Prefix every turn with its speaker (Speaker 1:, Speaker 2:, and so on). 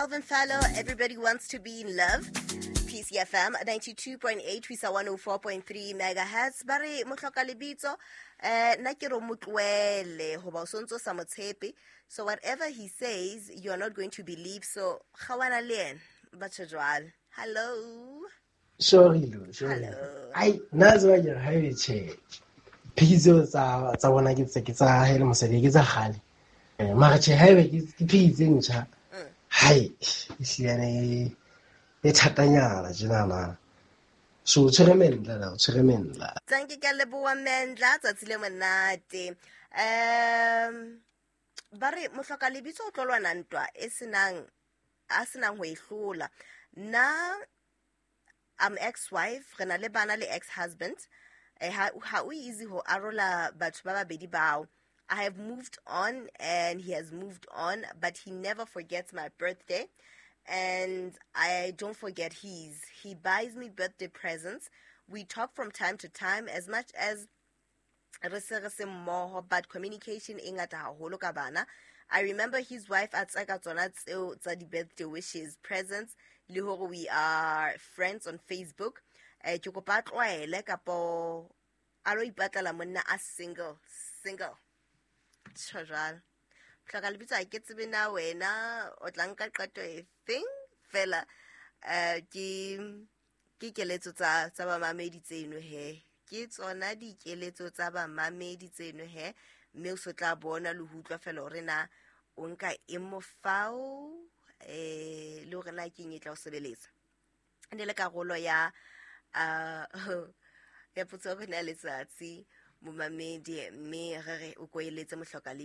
Speaker 1: Calvin Fallow, "Everybody Wants to Be in Love". PCFM 92.8 ho isa 104.3 megahertz. Ba re mohloka lebitso, nna ke re o mo tlohele hoba o sontso sa mo tshepe. So whatever he says, you are not going to believe. So kgawana le yena. Batho jwalo. Hello.
Speaker 2: Sorry lo, sorry.
Speaker 1: Hello.
Speaker 2: Ai, nna tseba ke re ha ebe tjhe. Phiki tseo tsa bona ke tsa hae le mosadi, ke tsa kgale. Mara tjhe, ha ebe ke phiki tse ntjha. Hai, ehlile e thatanyana tjenana. So o tshwere mendla la, o tshwere mendla.
Speaker 1: Thank you, ka leboha Mendla, tsatsi le monate. Ba re mohloka lebitso o tlo lwana ntwa e senang a senang ho e hlola. Nna I'm ex-wife, re na le bana le ex-husband. Ha o easy ho arola batho ba babedi bao. I have moved on and he has moved on, but he never forgets my birthday and I don't forget his. He buys me birthday presents. We talk from time to time, as much as re se re se mmoho, but communication e ngata haholo ka bana. I remember his wife a tseka tsona tseo tsa di-birthday wishes, presents, le hore we are friends on Facebook. Ke kopa a tlwaele kapo a lo ipatlela monna a single single. Tjho jwalo. Hloka lebitso, ha ke tsebe na wena o tla nka qeto e feng fela. Ke keletso tsa bamamedi tseno he, ke tsona dikeletso tsa bamamedi tseno he, mme o so tla bona le ho utlwa fela hore na o nka eng mofao, le hore na ke eng e tla o sebeletsa. E ne le karolo ya potso ya rona ya letsatsi, momamedi, mme re re o ko eletse mohloka.